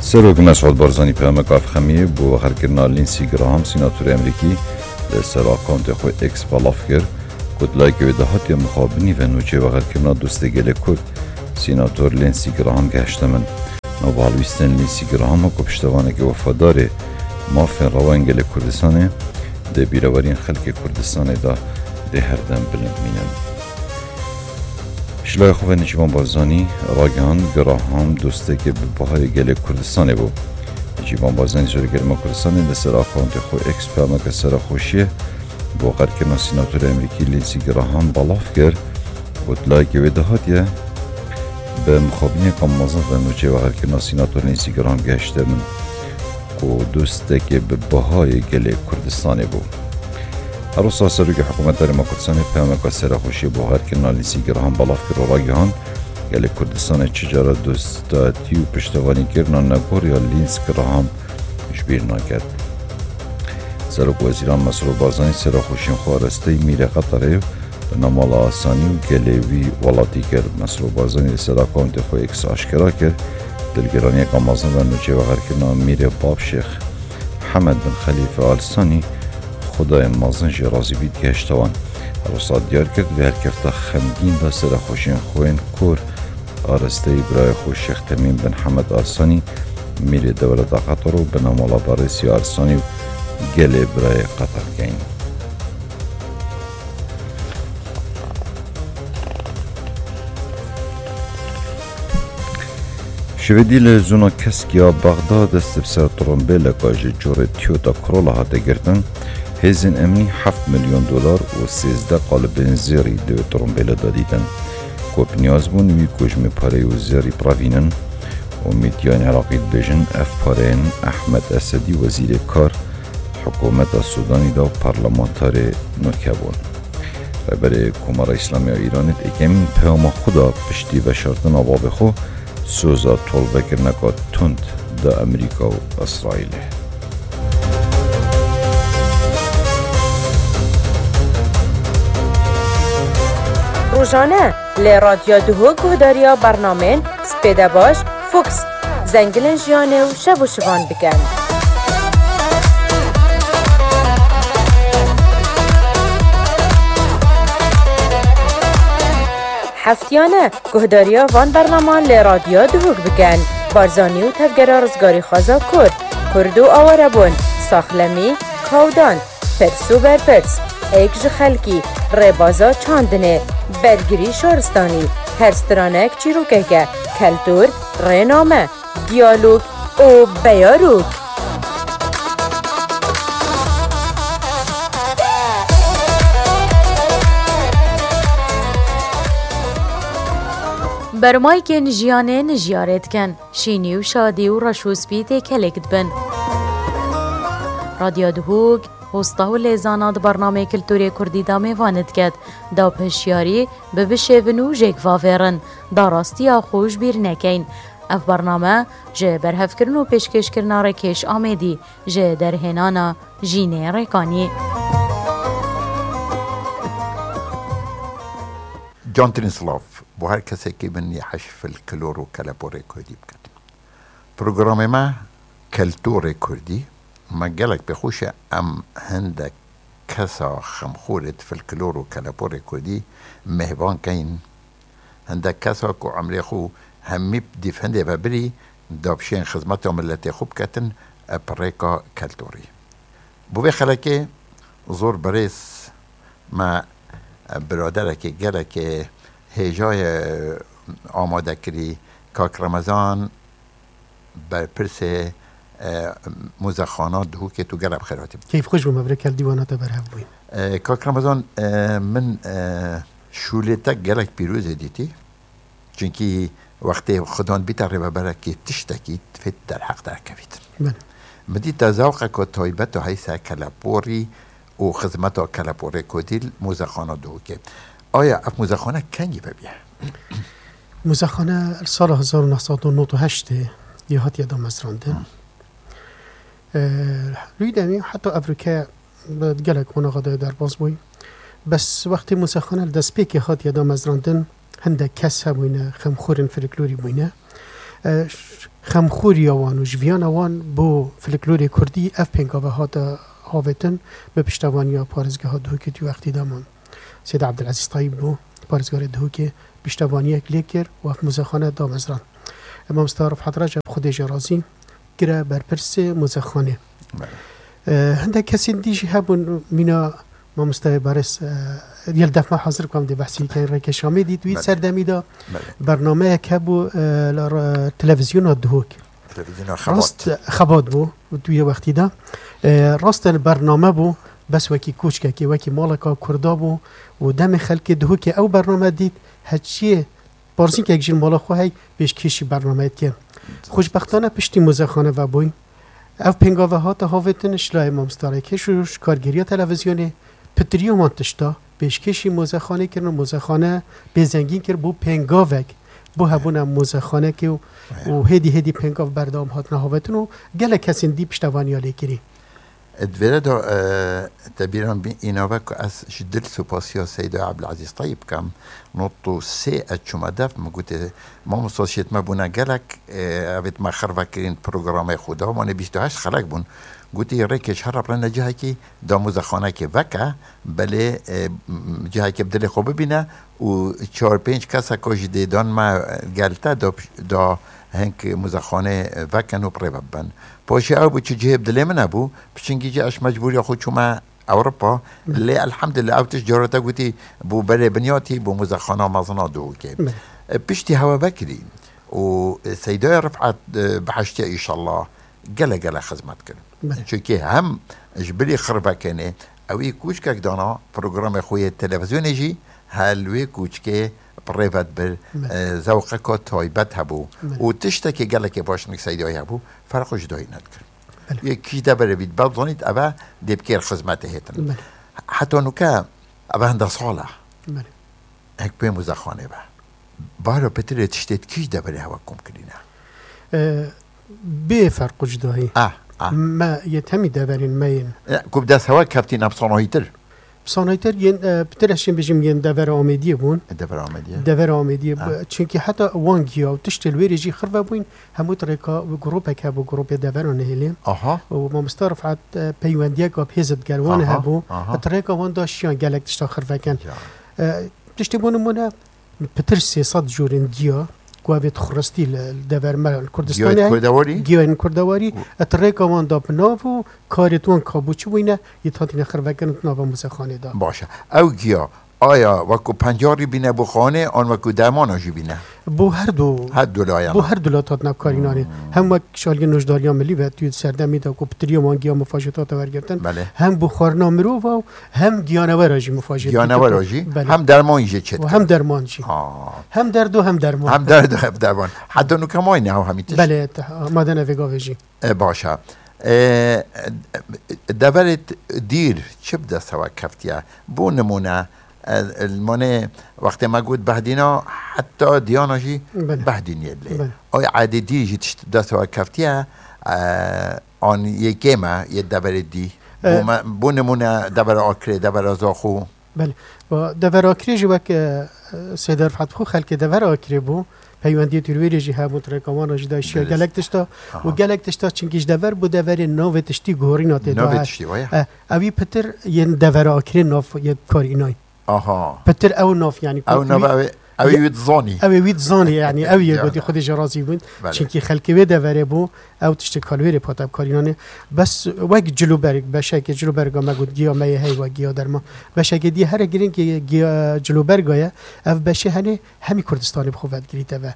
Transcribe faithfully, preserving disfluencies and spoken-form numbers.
Serok Mesûd Barzanî peyameka efxemiyê bo wexerkirina Lindsey Graham, sînatorê Amerîkî, li ser akawntê xwe X belav kir ku di layekê wê de hatiye mixabinî ve nûçeyê wexerkirina dostê gelê Kurd, sînator Lindsey Graham gehişte min. Nava helwîstên Lindsey Graham ku piştevanekê wefadarê mafên rewa yên gelê Kurdistanê di bîreweriyên xelkê Kurdistanê de dê her dem bilind mînin. Ji laya xwe ve Nêçîrvan Barzanî ragihand, Graham dostekê bi bihayê gelê Kurdistanê bû. Nêçîrvan Barzanî serokê herêma Kurdistanê li ser akawntê xwe X peyameke serexweşiyê bo qedkirina sînatorê Amerîkî Lindsey Graham belav kir û di layekê wê de hatiye, bi mixabiniyeke mezin ve nûçeyê wexerkirina sînator Lindsey Graham gehişte min ku dostekê bi bihayê gelê Kurdistanê bû. Her wisa serokê hikûmeta Herêma Kurdistanê peyameka serexweşiyê bo wexerkirina Lindsey Graham belav kir û ragihand, gelê Kurdistanê çi cara dostatî û piştevanîkirina negor ya Lindsey Graham ji bîr naket. Serok Wezîran Mesrûr Barzanî serexweşiyên xwe arasteyî Mîrê Qeterê, Binamala Arsanî û gelê wî welatî kir. Mesrûr Barzanî li ser akawntê xwe X aşkera kir, dilgiraniyeke mezin ve nûçeyê wexerkirina Mîrê Bab Şêx Hemed bin Xelîfe Al Sanî, Xwedayê mezin jê razî bît, gihişte wan. Her wisa diyar kir, di vê helkefta xemgîn de serexweşiyên xwe yên kor arasteyî birayê xwe Şêx Temîm bin Hemed Al Sanî, Mîrê Dewleta Qeter û Binamala Berêsî Al Sanî û gelê birayê Qeter keyn. Şevêdî li zona Kesk ya Bexda dest bi ser trombêleka ji corê Toyota Corolla hate girtin, hêzên emnî heft milyon dolar û sêzdeh qalibên zêrî di wê trombêlê de dîtin. Ku bi niyaz bûn wî kujmê pareyê û zêrî birevînin û mîdyayên Iraqî dibêjin, ev pareyên Ehmed Esedî, wezîrê kar, hikûmeta Sûdanî de û parlamenterê nûke bûn. Rêberê Komara Îslamî ya Îranê di yekemîn peyama xwe de piştî veşartina bavê xwe soza tolvekirineka tund da Amerîka û Îsraîlê. Rojane li Radyo Duhok guhdariya bernamên Spêdebaş, Fuks, Zengilên Jiyanê û Şev û Şivan bikin. Heftiyane guhdariya van bernaman li Radyo Duhok bikin. Barzanî û tevgera rizgarîxwaza Kurd, Kurd û awarebûn, saxlemî, kawdan, pirs û berpirs, êk ji xelkî, rêbaza çandinê, bergirî şaristanî, her stranek çîrokeke, keltûr, rêname, diyalog û beyarok. Bermaykên jiyanê nijiyarê dikin, şînî û şadî û reş û spî têkelek dibin. Radyo Duhok, hosta û lêzana di bernamê Kulturê Kurdî de mêvanê diket, da hişyarî bibişêvin û jêk vavêrin, da rastiya xwe ji bîr nekeyn. Ev bername ji berhevkirin û pêşkêşkirina Rêkêş Amêdî ji derhênana Jînê Rêkanî. Cantirîn silav bo her kesekî bin yê heş filklor û keleporê kurdî biket. Programê me Keltorê Kurdî, me gelek pê xweş e em hindek kesa xemxorê di filklor û keleporê kurdî mêhvan keyin. Hindek kesa ku emrê xwe hemî dîf hindê ve birî, da bişên xizmeta miletê xwe biketin, e, bi rêka keltorî. Bo vê xelekê zor birêz me, e, biraderekê gelekê hêja ye amade kirî, kak Remezan, berpirsê, e, Muzexana Duhokê, tu gelek bi xêr hatî. Keyf xweş bûm, ev rê kel dîwana te berhev bûyî. E, kak Remezan, e, min, e, şûlê te gelek pîrozê dîtî. Çunkî wextê xudan bîte rêveberekî tiştekî, divê derheq derkevît. Belê. Min dît te zewqeke taybet û heyse keleporî û xizmeta keleporê kurdî li Muzexana Duhokê. Aya ev muzexane kengî vebiye? Muzexane li sala hezar û neh sed û nod û heştê ya hatiye damezrandin. Hı. Ee, rûy demî heta evroke bi gelek qonaxa de derbas bûy. Bes wextê muzexane li destpêkê hatiye damezrandin, hindek kes hebûyne, xemxorên folklorî bûyne. E, ş-, xemxoriya wan û jiviyana wan bo folklorê kurdî ev pêngave hate havêtin bi piştevaniya parêzgeha Duhokê di wextî de man. Seyda Ebdulezîz Tayîb bû, parêzgarê Duhokê piştevaniyek lê kir û ev muzexane damezrand. E, mamosta Rifat Receb, Xwedê jê razî, kire berpirsê muzexanê. Belê. E, hindek kesên dî jî hebûn, mîna mamostayê berêz, e, yê li def me hazir ku em dê behsî dikin, Rêkeş Amêdî, di wî Belê. serdemî de Belê. bernameyek hebû, e, li re-, televizyona Duhok. Televizyona Rast, Xebat. Xebat bû, di wî wextî de. E, rast e, bername bû, bes wekî koçkekê, wekî maleka Kurda bû û demê xelkê Duhokê ew bername dît, heçiyê parzînkek jî li mala xwe hey pêşkêşî bernameyê dike. Xweşbextane piştî muzexane vebûyî. Ev pêngave hate havêtin ji layê mamosta Rêkeş û ji kargêriya televizyonê, pitiriya wan tişta pêşkêşî muzexanê kirin û muzexane pê zengîn kir bû pêngavek bo hebûna muzexanekê û, û hêdî hêdî pêngav berdewam hatine havêtin û gelek kesên dî piştevaniya lê kirî. Di vêre de, e, te bîran bî-, îna ve ku ez ji dil supasiya Seyda Ebdulezîz Tayîb bikim. Nod û sê ez çûme def, min gotê, mamosta şêt me bûne gelek, e, evêt me xirve kirîn programê xwe de, wanê bîst û heşt xelek bûn. Gotî, Rêkeş here birine cihekî da muzexanekê veke, belê, e, m-, cihekê bi dilê xwe bibîne û çar pênc keseka jî dê dan me gel te da, da hink muzexanê vekin û bi rê ve bibin. Paşê ew bû çi cihê bi dilê min nebû, piçingî jî ez mecbûriya xwe çûme Ewropa. Belê. Lê elhamdulillah ew tişt cara te gotî bû berê binyatî, bû muzexana mezina Duhokê. Belê. E, piştî hewe vekirî û, e, Seydaya Rifat, e, bihiştiye înşallah gelek gelek xizmet kirin. Belê. Çunkî hem ji bilî xirvekenê ewî kûçkek dana programê xwe yê televizyonê jî hel wê kûçkê bi rê ve dibir, Belê. e, zewqeka taybet hebû. Belê. Û tiştekê gelekê baş nik Seydayê hebû, ferq û cudayî nedikir. Belê. Yê kî deverê bît, bel zanît eve dê bikêr xizmetê hêtin. Belê. Heta nuke eve hinde sal e. Belê. Hek pê muzexanê be. Bara pitirê tiştê kî ji deverê hewe kom kirîne? E, bê ferq û cudahî. Ah, ah. Me yê temî deverên me yên. E, ku bi dest hewe keftî ne bi sanahîtir? Bi sanahîtir yên, e, pitir ez şên bêjim yên devera Amêdiyê bûn. E, devera Amêdiyê. Devera Amêdiyê. Ah. Çunkî heta wan giya û tiştê li wêrê jî xirve bûyn, hemû di rêka grûpek hebû, grûpê devera Nihêlê. Aha. Û mamosta Rifat, e, peywendiyek bi hêz digel wan Aha, hebû. aha. Di rêka wan da şiyan gelek tişta xirve ken. Ya. E, tiştê bo nimûne, pitir sê sed curên giya ku ev ê dixuristî li, li dever me li Kurdistanê Giyayên heye, Kurdewarî? giyayên Kurdewarî, Û- et rêka wan da bi nav û karê wan kabû çi bûyne, yê hatîne xirvekirin di nava muzexanê de. Baş e. Ew giya, aya wekû pencarî bîne bo xanê, an wekû dermana jî bîne? Bo her du, Her du layan. bo her du lat hatine karînanê. Hmm. Hem wek şalgê nojdariya milî ve tu serdemî de ku pitiriya wan giya mufajeta te wergirtin, Belê. hem bo xwarina mirova û hem giyanewera jî mufajeta Giyanewera te. jî, Belê. hem derman jî çêt Û hem derman jî. Aa. Hem derd û hem derman. Hem derd û hem derman. Heta nuke mayne ew hemî tişt? Belê, te-, amade ne vê gavê jî. E, baş e. E, deverê t-, dîr çi bi dest hewe keftiye? Bo nimûne, e, li manê wextê me got behdîna, heta diyana jî Belê. behdîniyê lê. Belê. Ay edê dî jî tişt bi dest hewe keftiye, e, an yê kêm e, yê deverê dî. E, Bo me, bo nimûne devera Akrê, devera Zaxo. Belê. Ba, devera Akrê jî wek, e, e, Seyda Rifat xwe xelkê devera Akrê bû. Peywendiyê Tirwêrê jî hebû, rêka wan jî da şiya Dirist. gelek tişta. Aha. Û gelek tişta çinkî ji dever bû deverê navê tiştî gorîna tê Navê da. tiştî, waya. E, ewî pitir yên devera Akrê nav yê karînay. Aha. Pitir ew nav, yanî, Ew ku nav wî ew ê, ew ê wî dizanî. Ew ê wî dizanî, yanî, ew yê Ya. gotî, Xwedê ji razî bûn. Belê. Çinkî xelkê wê deverê bû, ew tiştê kalwêrê pate bi karînanê. Bes wek cilûberg, beşekê cilûberga me got, giya me yê heyva, giya derman. Beşekê dî here girîng yê giya cilûberga ye. Ev beşê henê hemî Kurdistanê bi xwe vedigirîte ve.